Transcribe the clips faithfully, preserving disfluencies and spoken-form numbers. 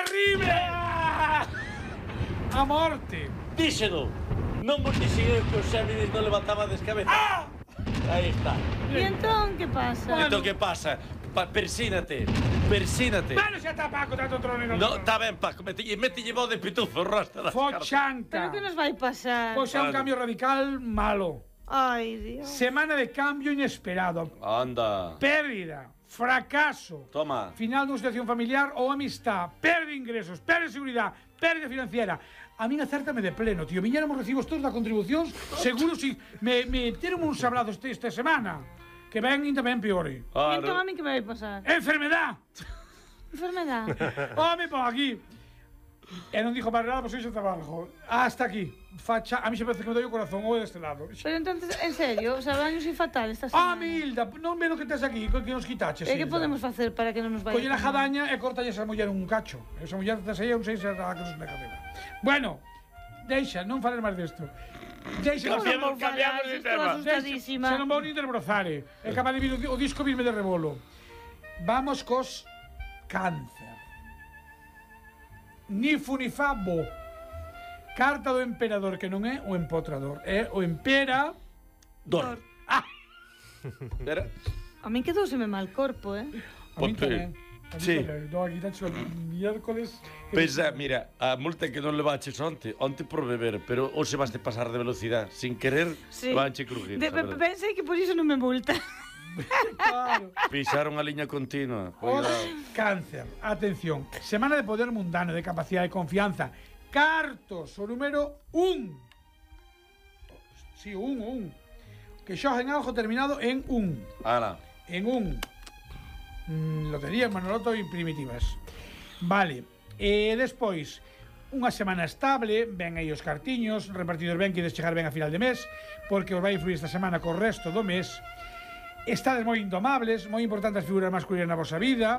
arribe! A morte. Díxeno. Non vos dixen que os Xéminis non levantabades cabeza. Ah! Aí está. E entón, que pasa? Bueno. Entón, que pasa? Pa, persínate, persínate. Bueno, xa está Paco, tanto trono non. No, está ben, Paco, metille, metille voz de pitufo, rosta das cartas. Fochanca. Pero que nos vai pasar? Pois é un Vale. cambio radical malo. Ai, Dios. Semana de cambio inesperado. Anda. Pérdida, fracaso, Toma. final dunha situación familiar ou amistad, perde ingresos, perde seguridade, perde financiera. A min acértame de pleno, tío. Viñéramos recibos todos da contribucións, seguro si me, me teron uns abrazos este, esta semana, que ven tamén peore. E entón a mí que me vai pasar? Enfermedad. Enfermedade. Home, pon aquí. E non dixo para nada, pois iso trabajo. Hasta aquí. Facha, a mí se parece que me doi o corazón ou deste lado. Pero entonces, en serio, o sea, baños e fatal esta Ah, semana. Hilda, non ve o que tes aquí, que nos quitaches. E que Hilda? podemos facer para que non nos vaya? Colle a jadaña e cortalle esa muller un cacho. Esa muller tes aí, non sei se será que nos mega dela. Bueno, deixa, non fales máis desto. Deixa, Cambiamos, Vamos, cambiamos vale, de estou tema. asustadísima. Se non vou nin desbrozare. É capaz de vir o, o disco virme de rebolo. Vamos cos cáncer. Ni fu ni fa bo. Carta do emperador, que non é o empotrador. É o empera... Dor. Ah! Era... A min quedouseme mal corpo, eh? A min Ponte. tamén. A min Sí. tamén. No, aquí tacho el miércoles... Pensa, mira, a multa que non levaches onte, onte por beber, pero hoxe vas de pasar de velocidade, sin querer, Sí. vanche crujir. De, pe- pensei que por iso non me multa. Claro. Pisaron a liña continua. Os Cuidado. cáncer. Atención. Semana de poder mundano, de capacidade de confianza. Cartos, o número un. Sí, un, un. Que xoga en algo terminado en un. Ala. En un. Mm, lotería, Manoloto e primitivas. Vale. E despois, unha semana estable, ven aí os cartiños, repartidos ben, que ides chegar ben a final de mes, porque os vai influir esta semana co resto do mes. Estades moi indomables, moi importantes as figuras masculinas na vosa vida.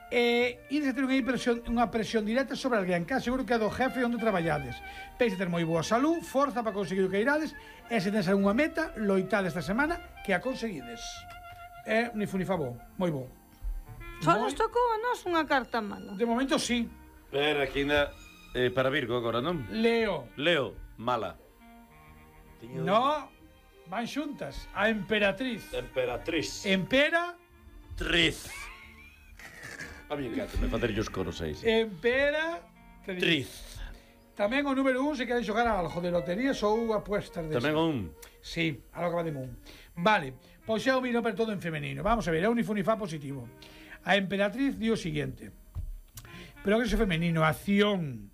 E ides a ter unha presión, unha presión directa sobre alguén, que seguro que é do jefe onde traballades. Peis a ter moi boa salud, forza para conseguir o que irades, e se tens algunha meta, loitade esta semana que a conseguides. É ni fu ni fa bo, moi bo. Só Moi- nos tocou a nós unha carta mala. De momento sí. Pero aquí ainda eh, para Virgo agora, non? Leo. Leo, mala. No, van xuntas. A emperatriz. Emperatriz. Empera, Triz. A mí encanta, me facer os coros aí. Sí. empera, Triz. Tamén o número un se queres xogar a algo de loterías ou apuestas de Tamén un. Sí, a lo que va de Moon. Vale, pois é o vino pero todo en femenino. Vamos a ver, é un unifunifá positivo. A emperatriz di o siguiente. Pero que é femenino, acción,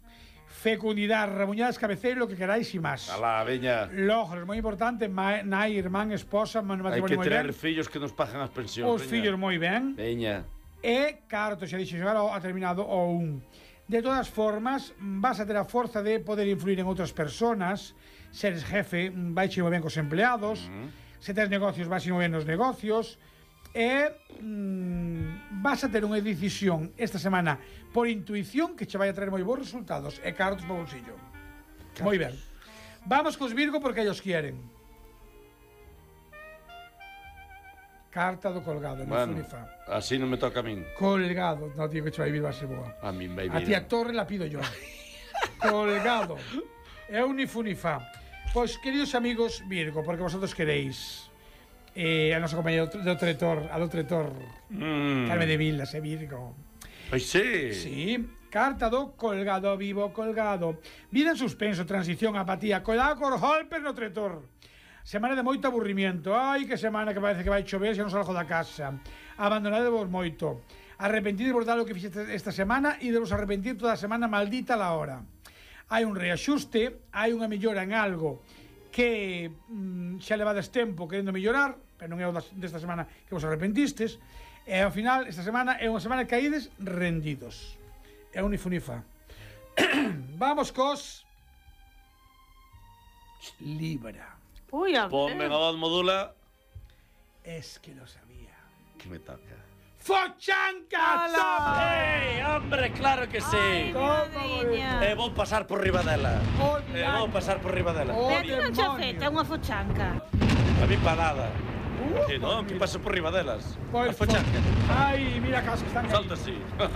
fecundidade, rabuñadas, cabeceiro, lo que queráis e máis. Alá, veña. Logros, moi importante, ma, nai, irmán, esposa, Hai matrimonio que moi traer ben. fillos que nos pagan as pensións. Os fillos moi ben. Veña. E, carto, xa dixo xogar ao- a terminado o un. De todas formas, vas a ter a forza de poder influir en outras personas. Seres jefe, vai moi ben cos empleados. Uh -huh. Se tes negocios, vai moi ben nos negocios. E mm, vas a ter unha decisión esta semana por intuición que che vai a traer moi bons resultados. E cartos no bolsillo. Moi ben. Vamos cos Virgo porque ellos quieren. Carta do colgado, Bueno, no Funifa. así non me toca a min. Colgado. No, tío, que che vai vir, vai ser boa. A min vai A vir. ti a torre la pido yo. Colgado. É un nifunifá. Pois, queridos amigos Virgo, porque vosotros queréis eh, a nosa compañera do Tretor, a do Tretor, Mm. Carme de Vilas, é Virgo. Ai, sí. Sí, carta do colgado, vivo colgado. Vida en suspenso, transición, apatía, colgado cor golpes no Tretor. Semana de moito aburrimiento. Ai, que semana que parece que vai chover, xa non salgo da casa. Abandonade vos moito. Arrepentides vos dar o que fixeste esta semana e de vos arrepentir toda a semana, maldita la hora. Hai un reaxuste, hai unha mellora en algo que mm, xa levades tempo querendo mellorar, pero non é o das, desta semana que vos arrepentistes, e ao final, esta semana é unha semana que caídes rendidos. É un ifunifa. Vamos cos Libra. Ui, a Ponme ver. a voz modula. Es que lo sabía. Que me toca. ¡Fochanca! ¡Ei, hombre, claro que sí! Ai, miñadiña. E vou pasar por riba dela. Oh, E vou pasar por riba dela. Oh, Pero ti non che demonio. afecta unha fochanca. A mí pa nada. Uh, Que non, que paso por riba delas. Pois, A fochanca. Ai, mira cas que están aí. Salta así.